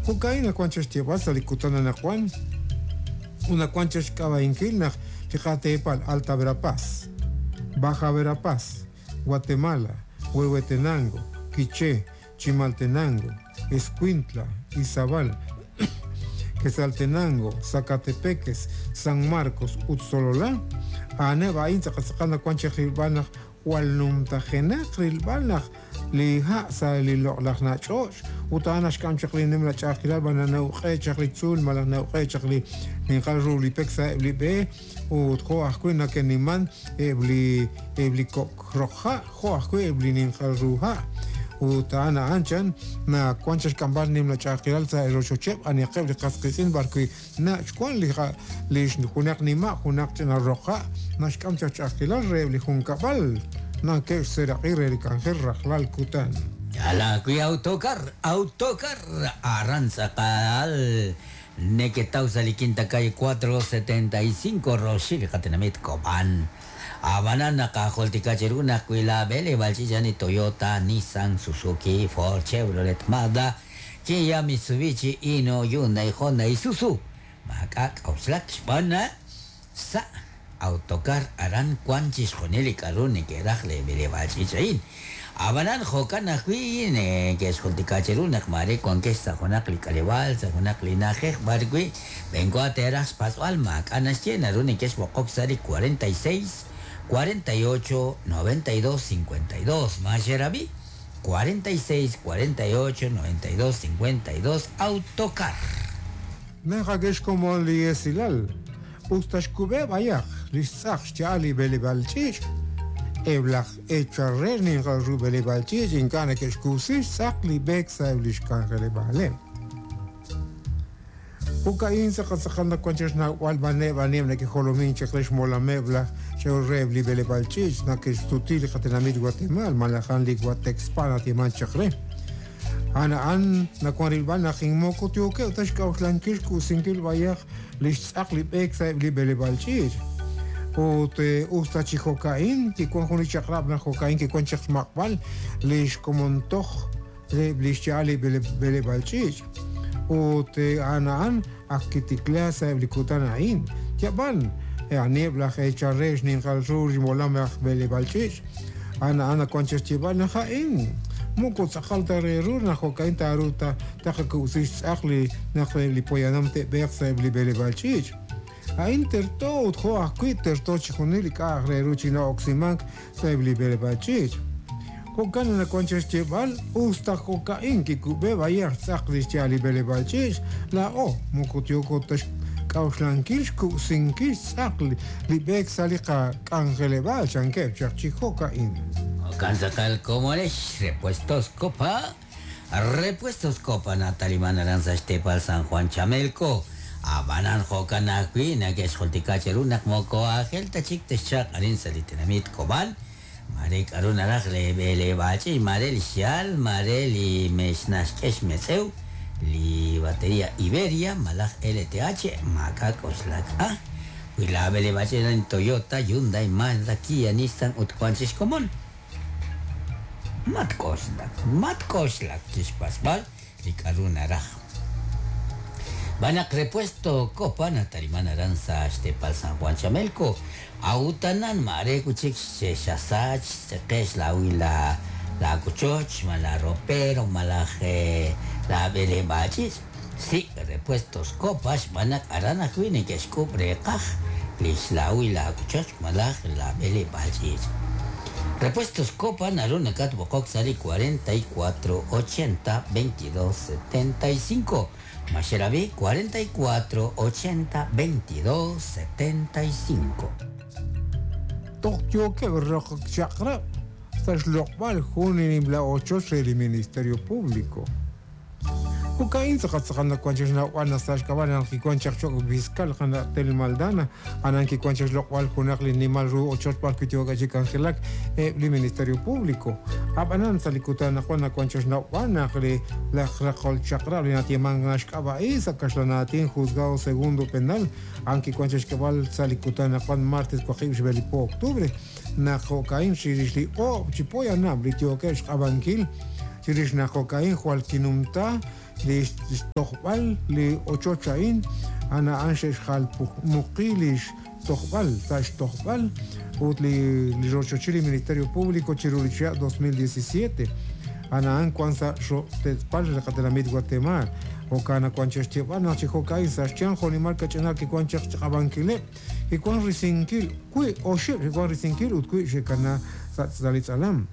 Jo'ka'in nawank chaq xyeeb'al sa' li kutan anaqwan ut nawank chaq xk'ab'a'inkil naq li qateepal Alta Verapaz, Baja Verapaz, Guatemala, Huehuetenango, Quiché, Chimaltenango, Escuintla, Izabal, Quetzaltenango, Sacatepéquez, San Marcos ut Sololá, a'aneb' a'in tz'aqal tz'aqal nawank chaq rilb'al naq Jwal numtajenaq rilb'al naq li ha' sa' li loq'laj nach'och' ut a'an naxk'am chaq li nimla ch'a'ajkilal b'an na'uq'e chaq li tzuul malaj na'uq'e chaq li ninqal ru li pek sa'eb' li b'e ut jo' ajwi' nake'niman eb' li eb' li kok' roq ha' jo' ajwi' eb' li ninqal ru ha' ut a'an a'an chan nawan chaq xk'amb'al nimla ch'a'ajkilal sa' rochocheb' anihaqeb' li qas qiitz'in b'arwi' Nach' wank li ha' li junaq nima' junaq ch'ina roq ha' naxk'am chaq ch'a'ajkilal reheb' li junkab'al nake'xseeraq'i re li k'anjel rajlal kutan. Yaal aawi' Autocar, Autocar, aran tz'aqal neketaw sa' li Quinta Calle 475 roxil li qatenamit Cobán. Ab'anan naqajultika cheru naq wi laab'eleb'aal ch'iich' a'an li Toyota, Nissan, Suzuki, Ford, Chevrolet, Mazda, Kia, Mitsubishi, Hino, Hyundai, Honda, Isuzu, maak'a' k'a'uxlak xb'aan naq sa' autocar aran wank chixjunil li k'a'ru neke'raj li b'eleb'aal ch'iich' a'in. Ab'anan jo'kan ajwi' neke'xjultika cheru naq maare wankex sa' junaq li k'aleb'aal, sa' junaq li na'ajej b'ar wi' b'enwa teeraj xpatz'b'al maak'a' naxye naru nekexb'oqok sa' li 46 48 92 52. Ma xerab'i? 46 48 92 52 Autocar. Naqak'e xkomon li esilal, us ta xkub'e b'ayaq li xtz'aq xya'al li b'eleb'aal ch'iich', eb' laj eechal re xninqal ru b'eleb'aal ch'iich' ink'a' neke'xkub'si xtz'aq li b'eek sa'eb' li xk'anjeleb'aaleb'. Jo'ka'in tz'aqal tz'aqal nawank chaq xnawb'al b'aneb' aniheb' neke'jolomink chaq re xmolameb' laj ch'ol reheb' li b'eleb'aal ch'iich' nake'xsuti li qatenamit Watemaal malaj a'an li Watexpa nayeemank chaq re. A'an a'an nawank rilb'al naq moko yookeb' ta xk'a'uxlankil xk'usinkil b'ayaq li xtz'aq li b'eek sa'eb' li b'eleb'aal ch'iich'. Ut us ta chi jo'ka'in kiwank jun li chaq'rab' naq jo'ka'in kiwank chaq xmaq'b'al li xkomon toj reheb' li xya'al li b'eleb'aal ch'iich'. Ut a'an a'an ak kitikla sa'eb' li kutan a'in. Yab'an, aniheb' laj eechal re xninqal ru xmolam aj b'eleb'aal ch'iich'? A'an a'an nawank chi xyeeb'al naq a'in moko tz'aqal ta re ru naq jo'ka'in taaruuq ta taqakub'si xtz'aq li naq eb' li poyanam te'b'eeq sa'eb' li b'eleb'aal ch'iich'. A'in terto ut jo' ajwi' terto chixjunil li k'a'aq re ru chi na'oksimank sa'eb' li b'eleb'aal ch'iich'. Jo'kan naq nawank chaq xyeeb'al, us ta jo'ka'in kikub'e b'ayaq xtz'aq li xya'al li b'eleb'aal ch'iich', laa'o moko yooko ta xk'a'uxlankil xkub'sinkil xtz'aq li b'eek sa' li qak'anjeleb'aal, chankeb' chaq chi jo'ka'in. Jo'kan tz'aqal komonex, Repuestos Copa, Repuestos Copa nataliman aran sa' xteepal San Juan Chamelco. Ab'anan jo'kan ajwi' nake'xjultika cheru naq moko aajel ta chik texchalq arin sa' li tenamit Cobán, Maare k'a'ru naraj lee b'eleb'aal ch'iich', maare li xyaal, maare li mex naxk'e xmetz'ew, li bateria Iberia malaj LTH, maak'a' k'oxlak a. Wi laa b'eleb'aal ch'iich' a'an Toyota, Hyundai, Mazda, Kia, Nissan ut wan chik xkomon. Matk'oxlak, matk'oxlak chixpatz'b'al li k'a'ru naraj. Xb'aan naq Repuesto Copa nataliman aran sa' xteepal San Juan Chamelco, a'ut anan maare wi' chik xasach xtz'eqe' xlawil laawochoch, malaj laaropero, malaj laab'eleb'aal ch'iich'. Sik' Repuestos Copa xb'aan naq aran ajwi' neke'xk'ub' reeqaj li xlawil laawochoch malaj laab'eleb'aal ch'iich'. Repuestos Copa naru nakatb'oqok sa' li 44 80 22 75. Ma xerab'i? 44 80 22 75. Toj yookeb' roq chaq'rab' sa' xloq'b'al jun li nimla ochoch re li Ministerio Público. Jo'ka'in tz'aqal tz'aqal nawank chaq xnawb'al naq sa' xk'ab'a' naq kiwank chaq cho'q fiscal qana' Tel Maldana, aran kiwank chaq xloq'b'al junaq li nimal ru ochoch b'ar wi' yookeb' chi k'anjelak eb' li Ministerio Público. Ab'anan sa' li kutan anaqwan nawank chaq xnawb'al naq li laj raqol chaq'rab' li nayeemank naxk'ab'a'i sa' kaxlan aatin Juzgado Segundo Penal, a'an kiwank chaq xk'eb'al sa' li kutan anaqwan martes waqib' xb'e li po octubre naq jo'ka'in chirix li oob' chi poyanam li yookeb' xq'ab'ankil. Chirix naq jo'ka'in jwal kinumta li xtojb'al li ochoch a'in, a'an a'an xe'xjalmuqi li xtojb'al sa' xtojb'al ut li rochochil li Ministerio Público chiru li chihab' 2017. A'an a'an wan sa' xro'tetz'pal li qatenamit Guatemala. Jo'kan naq wan chaq xyeeb'al naq chi jo'ka'in sa' xyanq jo'nimal kach'inal kiwan chaq xchaq'ab'ankileb', kiwan risinkil wi' oxib' kiwan risinkil ut wi' xe'kana sa' li tz'alam.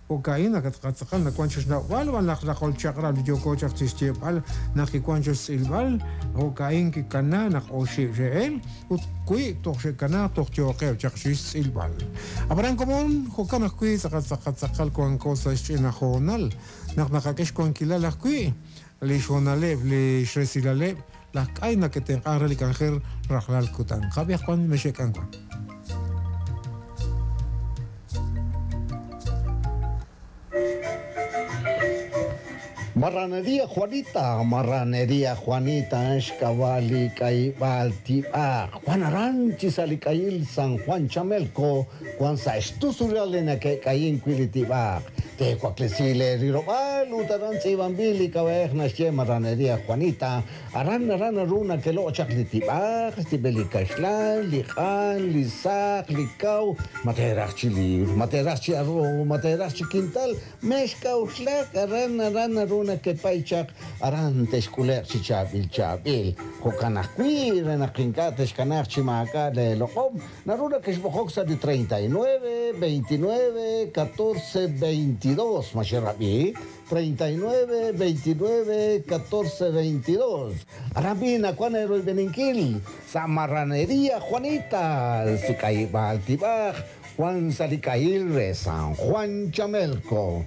Jo'ka'in naq tz'aqal nawank chi xnawb'al b'an laj raqol chaq'rab' li yooko chaq chi xyeeb'al naq kiwank chi xtz'ilb'al, jo'ka'in kikana naq oxib' xe'el ut wi' toj xe'kana toj yooqeb' chaq chi xtz'ilb'al. Ab'anan komon, jo'kan ajwi' tz'aqal tz'aqal tz'aqal wanko sa' xch'ina hoonal naq naqak'e xwankilal ajwi' li xhoonaleb' li xresilaleb' laj k'ay nake'tenq'ank re li k'anjel rajlal kutan. Qab'i ajwan mexe'k'an wan. Marranería Juanita, Marranería Juanita, xk'ab'a' li k'ayib'aal tib'aq. Juan aran chi sa' li k'ayil San Juan Chamelco, wan sa' xtusulal li nake'k'ayin wi' li tib'aq. Teewaklesi le rilob'aal ut aran tz'iib'anb'il li k'ab'a'ej naxye Marranería Juanita. Aran aran naru nakeloq' chaq li tib'aq, xtib'el li kaxlan, li q'an, li saq, li kaw, ma teeraj chi liibr, ma teeraj chi arroz, ma teeraj chi kintal, mexk'a'uxlak aran aran naru nakepay chaq aran texk'ule'q chi chaab'il chaab'il. Jo'kan ajwi' re naq ink'a' texkanaaq chi maak'a' leeloq'om, naru nakexb'oqok sa' li 39 29 14 22. Ma xerab'i? 39 29 14 22. Aran b'i nawan eroyb'eninkil sa' Marranería Juanita, si k'ayib'aal tib'aj, Juan sa' li k'ayil re San Juan Chamelco.